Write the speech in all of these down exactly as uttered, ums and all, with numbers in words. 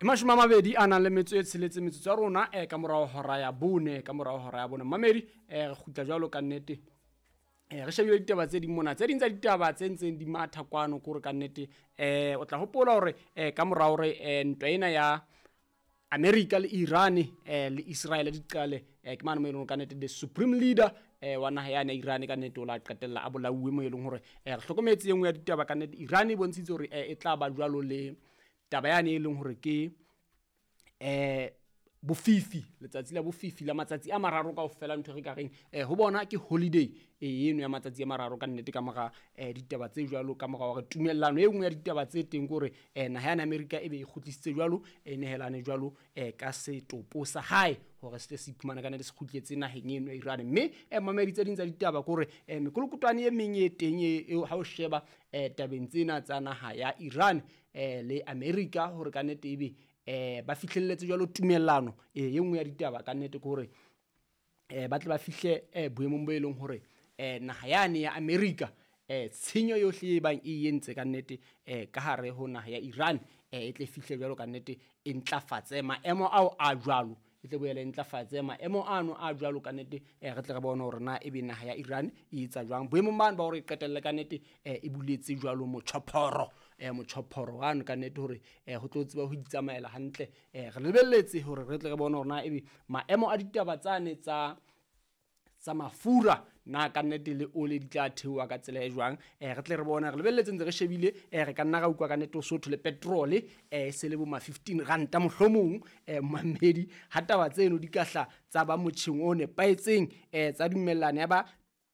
E mashome a mabedi a nang le metso e tsheletse metsotso ya rona eh, ka morao hora ya bone, ka morao hora ya bone. Mamedi, eh, re kgutla jwalo ka nnete. Eh, re shebile ditaba tse ding mona, tse ding tsa ditaba tse ntseng di matha kwano ke hore ka nnete eh o tla hopola hore eh ka morao hore eh, ntwa ena ya America le Iran eh le Israel di qale, eh ke mane mo e leng hore ka nnete the supreme leader eh wa naha yane ya Iran ka nnete o la qetella a bolauwe, mo e leng hore eh re hlokometse e nngwe ya ditaba ka nnete Iran e bontshitse hore eh, e tla ba jwalo le taba yane e leng hore ke eh bofifi, letsatsi la bofifi la matsatsi a mararo kaofela, ntho e re ka reng eh ho bona ke holiday e eno ya matsatsi a mararo ka nnete ka mora eh ditaba tse jwalo, ka mora hore tumellano e nngwe ya ditaba tse teng ke hore eh naha ya America e be e kgutlisitse jwalo, e nehelane jwalo eh ka setopo sa hae hore se tle se iphumane ka nnete se kgutletse naheng eno ya Iran. Mme eh mamedi tse ding tsa ditaba ke hore eh mekolokotwane e meng e teng e e ha o sheba eh tabeng tsena tsa naha ya Iran eh le America hore ka nnete ebe eh ba fihlelletse jwalo tumellano e nngwe ya ditaba ka nnete ke hore eh ba tle ba fihle eh boemong bo e leng hore eh naha yane ya America eh tshenyo yohle e bang e entse ka nnete eh ka hare ho naha ya Iran eh e tle fihle jwalo ka nnete e ntlafatse maemo ao a jwalo, e tle boele e ntlafatse maemo ano a jwalo ka nnete eh re tle re bone hore na ebe naha ya Iran e etsa jwang boemong bano ba hore e qetelle ka nnete eh e buletse jwalo motjhophoro eh motjhophoro wano ka nnete hore eh ho tlo tseba ho itsamaela hantle. Eh re lebelletse hore re tle re bone hore na ebe maemo a ditaba tsane tsa tsa mafura na ka nnete le ole di tla theoha ka tsela e jwang. Eh re tle re bone, re lebelletse ntse re shebile eh re ka nna ra utlwa ka nnete ho sotho le petrol eh se le bo ma fifteen ranta mohlomong eh mamedi ha taba tseno di ka hla tsa ba motjheng o nepahetseng eh tsa dumellana ya ba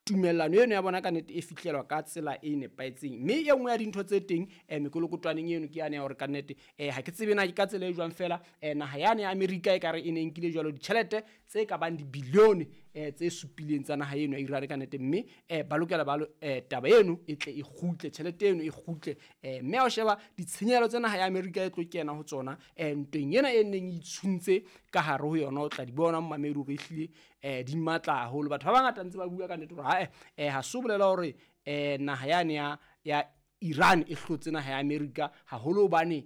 tumellano eno ya bona ka nnete e fihlelwa ka tsela e nepahetseng. Mme e nngwe ya dintho tse teng eh mekolokotwaneng eno ke yane ya hore ka nnete eh ha ke tsebe na ke ka tsela e jwang fela eh naha yane ya America e kare e ne nkile jwalo ditjhelete tse ka bang dibilione eh tse supileng tsa naha eno ya Iran ka nnete, mme eh ba lokela ba eh taba eno e tle e kgutle, tjhelete eno e kgutle. Eh mme ha o sheba ditshenyehelo tsa naha ya America e tlo kena ho tsona eh ntweng ena e neng e itshuntse ka hare ho yona, o tla di bona mamedi hore ehlile eh di matla haholo. Batho ba bangata ntse ba bua ka nnete hore ha eh ha so bolela hore eh naha yane ya ya Iran e hlotse naha ya America haholo hobane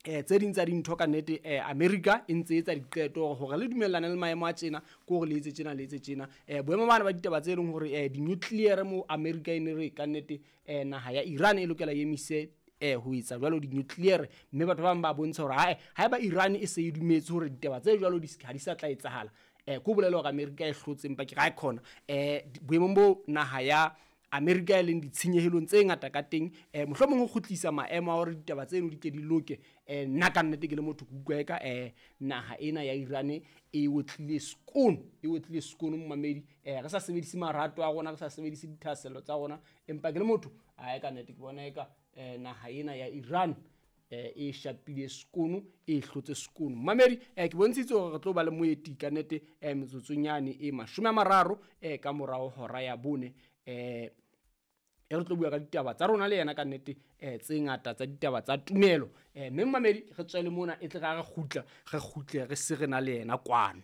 eh tse ding tsa dintho ka nnete eh America e ntse etsa diqeto hore le dumellane le maemo a tjena ke hore le etse tjena le etse tjena. Eh boemo bana ba ditaba tse leng hore eh di-nuclear mo America e ne re ka nnete eh naha ya Iran e lokela e emise eh ho etsa jwalo di-nuclear, mme batho ba bang ba bontsha hore hae haeba Iran e se e dumetse hore ditaba tse jwalo di ha di sa tla etsahala eh ko bolela hore America e hlotse, empa ke ra khona eh boemong bo naha ya America e leng ditshenyehelong tse ngata ka teng eh mohlomong ho kgutlisa maemo a hore ditaba tseno di ke di loke. Eh nna ka nnete ke le motho ke utlwa eka eh naha ena ya Iran e otlile skoon, e otlile skoon momamedi. Eh re sa sebedise marato a rona, re sa sebedise dithahasello tsa rona, empa ke le motho ae ka nnete ke bona eka eh naha ena ya Iran eh e shapile skoon, e hlotse skoon. Mamedi eh ke bontshitse hore re tlo ba le moeti ka nnete eh metsotsong yane e mashome a mararo eh ka morao hora ya bone eh e re tlo bua ka ditaba tsa rona le yena ka nnete eh tse ngata tsa ditaba tsa tumelo. Eh mme mamedi re tswele mona e tle ra re kgutla, re kgutle re se re na le yena kwano.